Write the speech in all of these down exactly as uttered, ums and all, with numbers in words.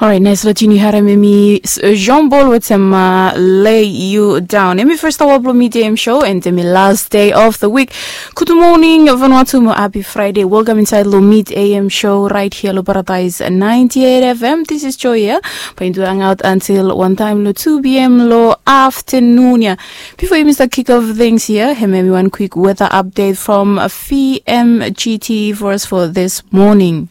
Orait, nais long tune yu harim em i Jean Paul wetem uh, Lay You Down. Em i first hour blong midday em show and em i last day of the week. Good morning Vanuatu mo happy Friday. Welcome inside long mid A M show right here long Paradise ninety-eight F M. This is Joy here. Bae yu hang out until one time long two P M long afternoon here. Before you miss the kick off things here, here maybe one quick weather update from V M G T for us for this morning.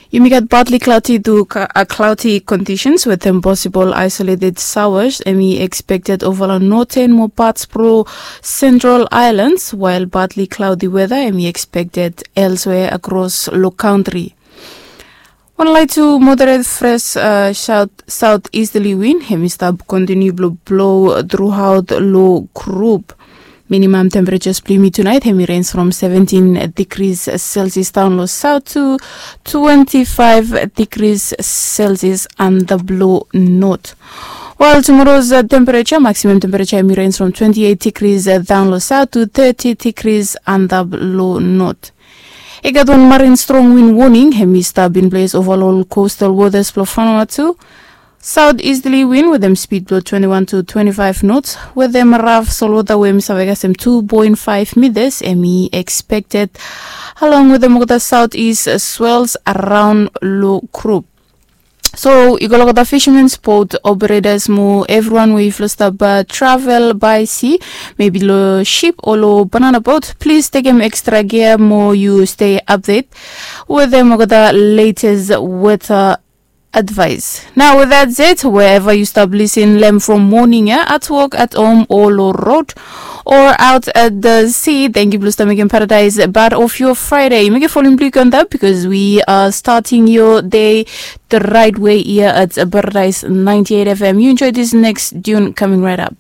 Yumi gat partly cloudy to cloudy conditions with them possible isolated showers. Em i expected over long northern mo parts pro Central Islands, while partly cloudy weather em i expected elsewhere across lo country. Wan light to moderate fresh uh, south southeasterly wind em i stap continue blo blow throughout lo group. Minimum temperatures blong yumi tonight em i range from seventeen degrees Celsius down lo south to twenty-five degrees Celsius and the blow north. While tomorrow's uh, temperature, maximum temperature em i range from twenty-eight degrees uh, down lo south to thirty degrees and the blow north. I gat wan marine strong wind warning em i stap in place over long coastal waters blong Vanuatu. Southeasterly wind with them speed blong twenty-one to twenty-five knots with them rough solwater wey em i save kasem two point five meters em i expected along with them olgeta southeast swells around lo group. So i go long olgeta fishermans boat operators mo everyone wey yufala stap uh, travel by sea, maybe lo ship o lo banana boat, please tekem extra gear mo yu stay update with them olgeta latest weather advice. Now with that said, wherever you stop listening lem from morning, yeah, at work, at home, or lo road, or out at the sea, thank you blong stop making paradise part of your Friday. Make a falling blue on that because we are starting your day the right way here at Paradise ninety-eight F M. You enjoy this next tune coming right up.